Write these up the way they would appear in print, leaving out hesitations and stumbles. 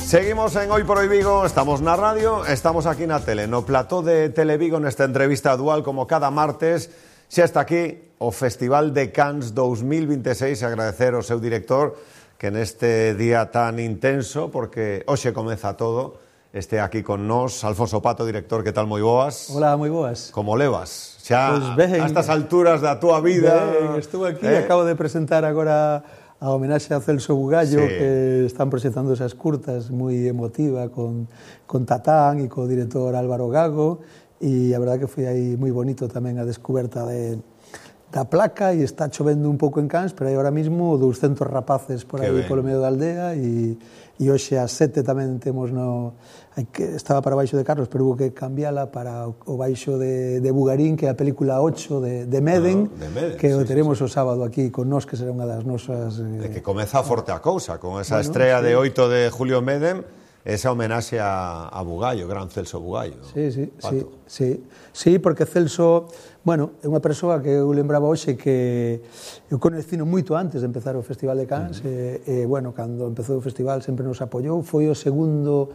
Seguimos en Hoy por Hoy Vigo, estamos na radio, estamos aquí na tele, no plató de Televigo nesta entrevista dual como cada martes. Xa está aquí o Festival de Cannes 2026, agradecer ao seu director que neste día tan intenso, porque hoxe comeza todo, este aquí con nós, Alfonso Pato, director, que tal, moi boas? Hola, moi boas. Como levas? Xa pues ben, a estas alturas da túa vida... Ben, estuve aquí, acabo de presentar agora a homenaxe a Celso Bugallo, sí, que están presentando esas curtas moi emotiva con Tatán e co director Álvaro Gago, e a verdad que foi aí moi bonito tamén a descoberta da placa, e está chovendo un pouco en Cannes, pero hai ahora mismo 200 rapaces por aí polo medio da aldea, e hoxe ás 7 tamén temos estaba para baixo de Carlos, pero hubo que cambiala para o baixo de Bugarín, que é a película 8 de Meden, que o teremos o sábado aquí con nós, que será unha das nosas... De que comeza forte a cousa, con esa estrella de 8 de Julio Meden, esa homenaxe a Bugallo, gran Celso Bugallo. Sí, porque Celso, bueno, é unha persoa que eu lembraba hoxe que eu conhecino moito antes de empezar o Festival de Cannes, e, bueno, cando empezou o festival sempre nos apoiou, foi o segundo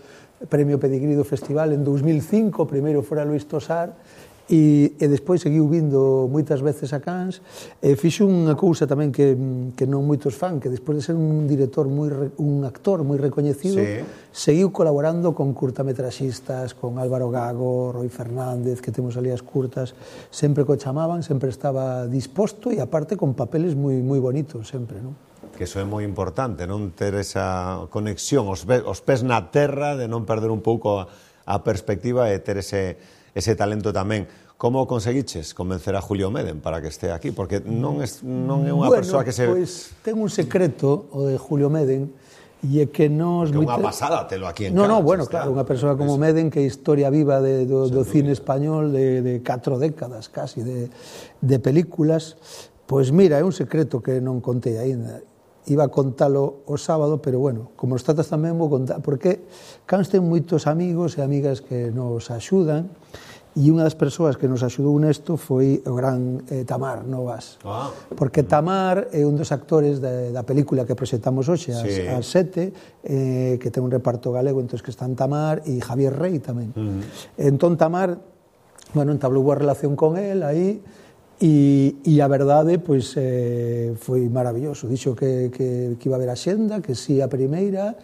premio Pedigrí do festival en 2005, o primeiro fora Luis Tosar, e despois seguiu vindo moitas veces a Cannes, e fixo unha cousa tamén que non moitos fan, que despois de ser un director un actor moi recoñecido, seguiu colaborando con curtametraxistas, con Álvaro Gago, Roy Fernández, que temos ali as curtas, sempre co chamaban, sempre estaba disposto, e aparte con papeles moi bonitos sempre, non? Que iso é moi importante, non ter esa conexión, os pés na terra, de non perder un pouco a perspectiva e ter ese talento tamén. Como conseguiches convencer a Julio Meden para que este aquí? Porque non é unha persoa que se... Bueno, pois ten un secreto, o de Julio Meden, e é que nos... Que unha pasada telo aquí en Cannes. No, bueno, claro, unha persoa como Meden, que é historia viva do cine español de 4 décadas casi de películas. Pois mira, é un secreto que non contei aínda. Iba a contalo o sábado, pero bueno, como os tratas tamén vou contar, porque Cannes ten moitos amigos e amigas que nos axudan, e unha das persoas que nos axudou nesto foi o gran Tamar Novas. Porque Tamar é un dos actores da película que proxectamos hoxe, ás 7, que ten un reparto galego, entón que están Tamar e Javier Rey tamén. Entón Tamar, bueno, entablou boa relación con él aí, e a verdade, pois, foi maravilloso. Dixo que iba a haber axenda, que sí a primeira,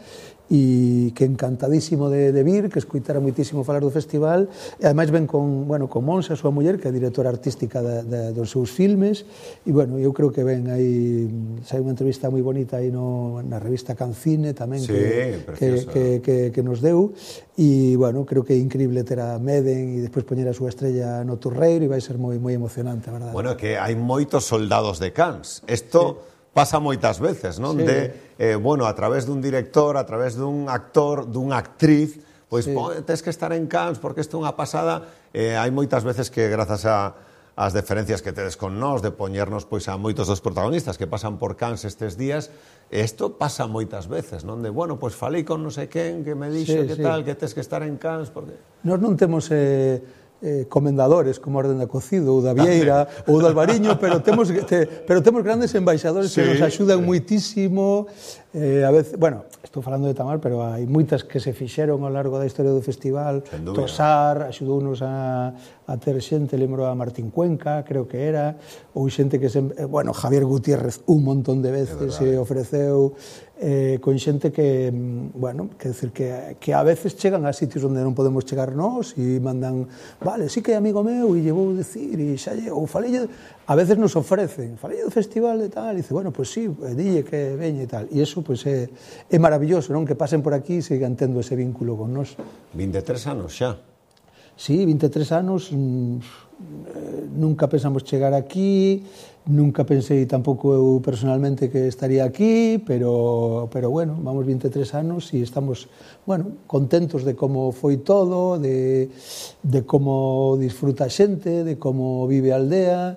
e que encantadísimo de vir, que escoitara moitísimo falar do festival, e ademais ven con Monse, a súa muller, que é a directora artística dos seus filmes, e, bueno, eu creo que ven aí, sai unha entrevista moi bonita aí na revista Cancine tamén, que nos deu, e, bueno, creo que é increíble ter a Meden e despois poñer a súa estrella no Torreiro, e vai ser moi emocionante, a verdade. Bueno, que hai moitos soldados de Cannes. Isto pasa moitas veces, non? Bueno, a través dun director, a través dun actor, dunha actriz, pois tes que estar en Cannes porque isto é unha pasada. Hai moitas veces que, grazas ás deferencias que tedes con nós, de poñernos pois a moitos dos protagonistas que pasan por Cannes estes días, isto pasa moitas veces, non? De, bueno, pois falei con non sei quen, que me dixo que tal, que tes que estar en Cannes, porque... Nós non temos... comendadores como Orden da Cocido ou da Vieira ou do Albariño, pero temos grandes embaixadores que nos axudan moitísimo. A veces, bueno, estou falando de Tamar, pero hai moitas que se fixeron ao largo da historia do festival. Tosar axudounos a ter xente, lembro a Martín Cuenca, creo que era, ou xente que bueno, Javier Gutiérrez un montón de veces se ofreceu, con xente que, bueno, que decir que a veces chegan a sitios onde non podemos chegar nós e mandan, vale, sí que é amigo meu e lle vou dicir, e xa lle, ou falei, a veces nos ofrecen, falei do festival e tal, e dice, bueno, pois sí, dille que veña e tal, e iso pois é maravilloso, non? Que pasen por aquí e sigan tendo ese vínculo con nós. 23 anos xa. Sí, 23 anos, nunca pensamos chegar aquí, nunca pensei tampouco eu personalmente que estaría aquí, pero bueno, vamos 23 anos e estamos, bueno, contentos de como foi todo, de como disfruta a xente, de como vive a aldea,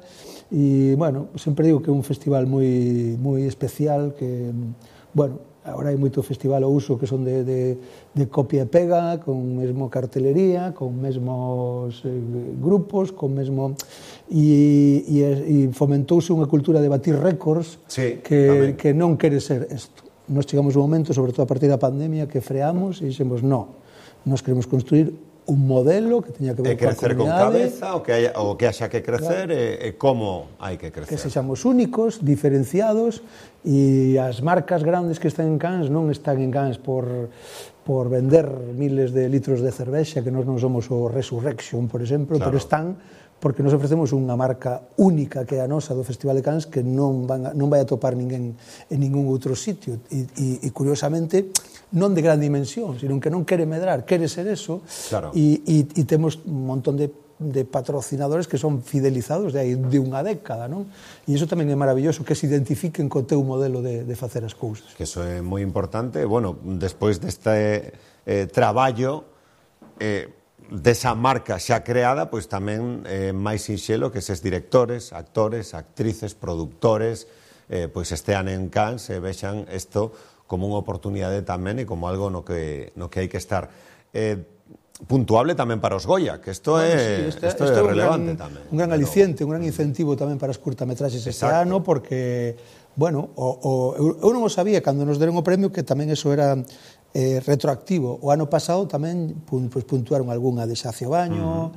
e, bueno, sempre digo que é un festival moi especial, que, bueno, agora hai moito festival ao uso que son de copia e pega, con mesmo cartelería, con mesmos grupos, con mesmo... E fomentouse unha cultura de batir récords que non quere ser isto. Nos chegamos un momento, sobre todo a partir da pandemia, que freamos e dixemos, no, nos queremos construir un modelo que teña que ver coa crecer con cabeza, o que haxa que crecer, claro. E como hai que crecer. Que sexamos únicos, diferenciados, e as marcas grandes que están en Cans non están en Cans por vender miles de litros de cervexa, que nós non somos o Resurrection, por exemplo, claro. Pero están porque nos ofrecemos unha marca única que é a nosa do Festival de Cans que non vai a topar ninguén en ningún outro sitio e curiosamente non de gran dimensión, sino que non quere medrar, quere ser eso, claro. E temos un montón de patrocinadores que son fidelizados de unha década, non? E iso tamén é maravilloso, que se identifiquen co teu modelo de facer as cousas. Que eso é moi importante. Bueno, despois deste traballo desa marca xa creada, pois tamén máis sinxelo que eses directores, actores, actrices, productores, pois estean en Cans e vexan isto como unha oportunidade tamén e como algo no que hai que estar. Puntuable tamén para os Goya, que isto é relevante tamén. Un gran aliciente, un gran incentivo tamén para as curtametraxes este ano, porque, bueno, eu non o sabía cando nos deron o premio que tamén eso era retroactivo. O ano pasado tamén puntuaron algunha de Xacio Baño,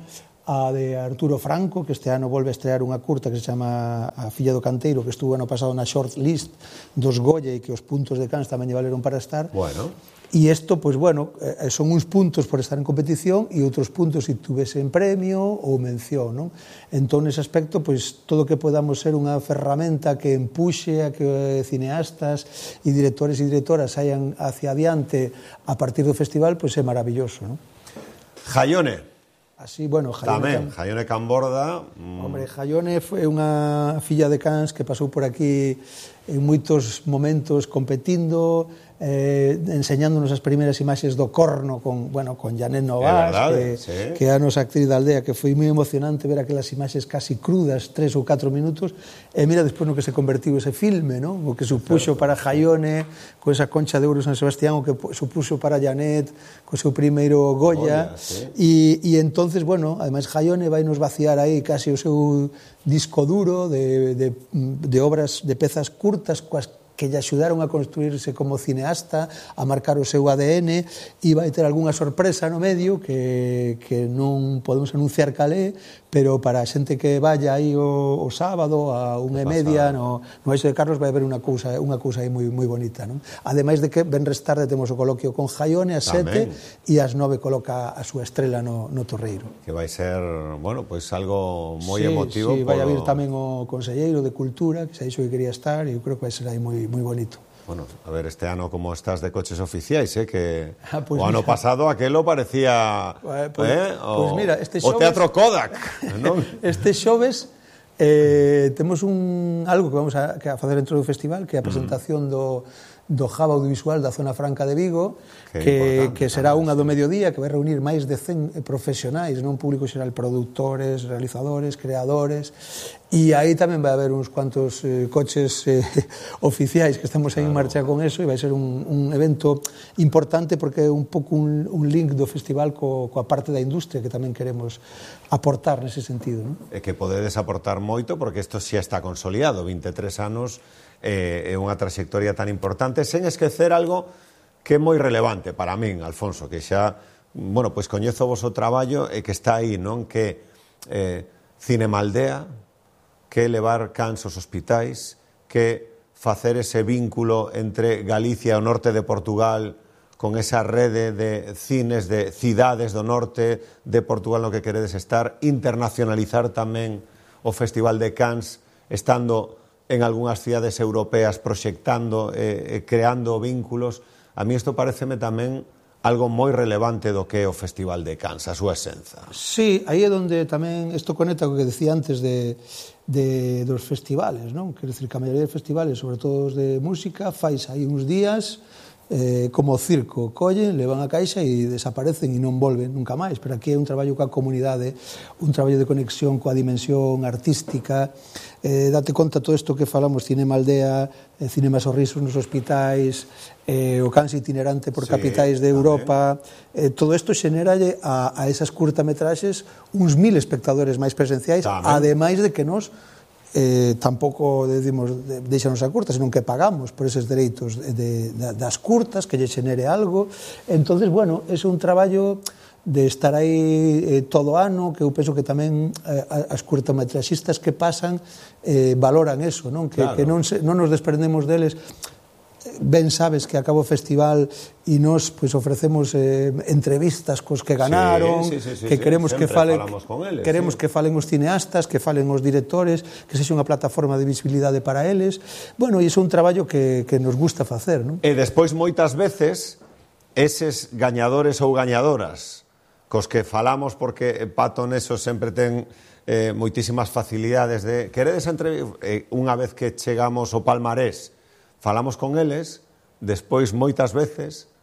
a de Arturo Franco, que este ano volve a estrear unha curta que se chama A filla do canteiro, que estuvo ano pasado na short list dos Goya e que os puntos de Cans tamén lle valeron para estar. Bueno. E isto, pois, bueno, son uns puntos por estar en competición e outros puntos se tuvese en premio ou mención, non? Entón, nese aspecto, pois, todo o que podamos ser unha ferramenta que empuxe a que cineastas e directores e directoras saian hacia adiante a partir do festival, pois é maravilloso, non? Jaione. Así, bueno, Jaione Camborda. Hombre, Jaione foi unha filla de Cans que pasou por aquí en moitos momentos competindo, enseñándonos as primeiras imaxes do Corno con Janet Novas, que é a nosa actriz da aldea, que foi moi emocionante ver aquelas imaxes casi crudas, 3 ou 4 minutos, e mira despois no que se convertiu ese filme, non? O que supuxo para Jaione, con esa concha de ouro San Sebastián, o que supuxo para Janet, co seu primeiro Goya, e entonces, bueno, ademais Jaione vai nos vaciar aí casi o seu disco duro de obras, de pezas curtas, coas que lle axudaron a construirse como cineasta, a marcar o seu ADN, e vai ter algunha sorpresa no medio que non podemos anunciar calé, pero para a xente que vaya aí o sábado a 1:30 no Eixo de Carlos vai haber unha cousa aí moi bonita, non? Ademais de que venres tarde temos o coloquio con Jaione ás 7 e ás 9 coloca a súa estrela no Torreiro. Que vai ser, bueno, pois algo moi emotivo. Sí, vai a vir tamén o conselleiro de Cultura, que xa dixo que quería estar, e eu creo que vai ser aí moi bonito. Bueno, a ver, este ano como estás de coches oficiais, que pues o ano pasado aquelo parecía mira, este xoves, o Teatro Kodak, non? Este xoves temos algo que vamos a facer dentro do festival, que é a presentación do Hub Audiovisual da Zona Franca de Vigo, que será unha do mediodía, que vai reunir máis de 100 profesionais, non público xeral, produtores, realizadores, creadores, e aí tamén vai haber uns cuantos coches oficiais que estamos aí en marcha con eso, e vai ser un evento importante porque é un pouco un link do festival coa parte da industria que tamén queremos aportar nese sentido, non? E que podedes aportar moito porque isto xa está consolidado, 23 anos é unha trayectoria tan importante, sen esquecer algo que é moi relevante para min, Alfonso, que xa, bueno, pois coñezo vos o traballo e que está aí, non? Que Cinemaldea, que levar Cans aos hospitais, que facer ese vínculo entre Galicia e o norte de Portugal con esa rede de cines de cidades do norte de Portugal no que queredes estar, internacionalizar tamén o Festival de Cans, estando en algunhas cidades europeas proxectando, creando vínculos. A mí isto pareceme tamén algo moi relevante do que é o Festival de Cans, a súa esenza. Sí, aí é onde tamén isto conecta co que decía antes dos festivales, non? Quero dicir que a maioría de festivales, sobre todo os de música, fais aí uns días como o circo, collen, levan a caixa e desaparecen e non volven nunca máis, pero aquí é un traballo coa comunidade, un traballo de conexión coa dimensión artística. Date conta todo isto que falamos, Cinemaldea, Cinema Sorrisos nos hospitais, o Cans itinerante por capitais de Europa, todo isto xeneralle a esas curtametraxes uns 1000 espectadores máis presenciais, ademais de que nos tampouco deixanos a curta, senón que pagamos por eses dereitos das curtas, que lle xenere algo. Entonces, bueno, é un traballo de estar aí todo ano, que eu penso que tamén as curtametraxistas que pasan valoran eso, non? Que non nos desprendemos deles. Ben sabes que acaba o festival e nos ofrecemos entrevistas cos que ganaron, que queremos que falen os cineastas, que falen os directores, que sexa unha plataforma de visibilidade para eles. Bueno, e iso é un traballo que nos gusta facer, non? E despois moitas veces eses gañadores ou gañadoras cos que falamos, porque Pato neso sempre ten moitísimas facilidades de queredes unha vez que chegamos ao palmarés, falamos con eles, despois moitas veces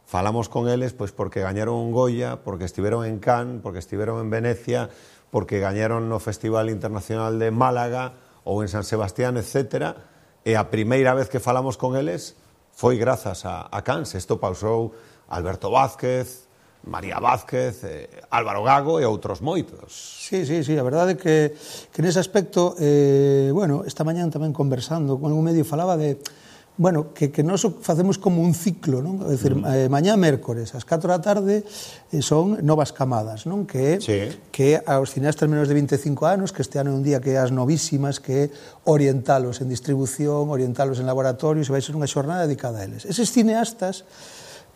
falamos con eles pois porque gañaron un Goya, porque estiveron en Cannes, porque estiveron en Venecia, porque gañaron no Festival Internacional de Málaga ou en San Sebastián, etc. E a primeira vez que falamos con eles foi grazas a Cannes. Isto pausou Alberto Vázquez, María Vázquez, Álvaro Gago e outros moitos. Sí, a verdade é que nese aspecto, bueno, esta mañán tamén conversando con algún medio falaba de, bueno, que nós facemos como un ciclo, non? É dicir, mañá mércores, ás 4 da tarde, son Novas Camadas, non? Que aos cineastas menos de 25 anos, que este ano é un día que as novísimas, que orientalos en distribución, orientalos en laboratorios, e vai ser unha xornada dedicada a eles. Eses cineastas,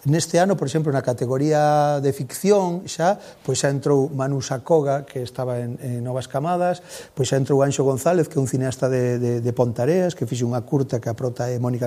neste ano, por exemplo, na categoría de ficción, xa entrou Manu Sacoga, que estaba en Novas Camadas, pois xa entrou Anxo González, que é un cineasta de Pontareas, que fixe unha curta que a prota é Mónica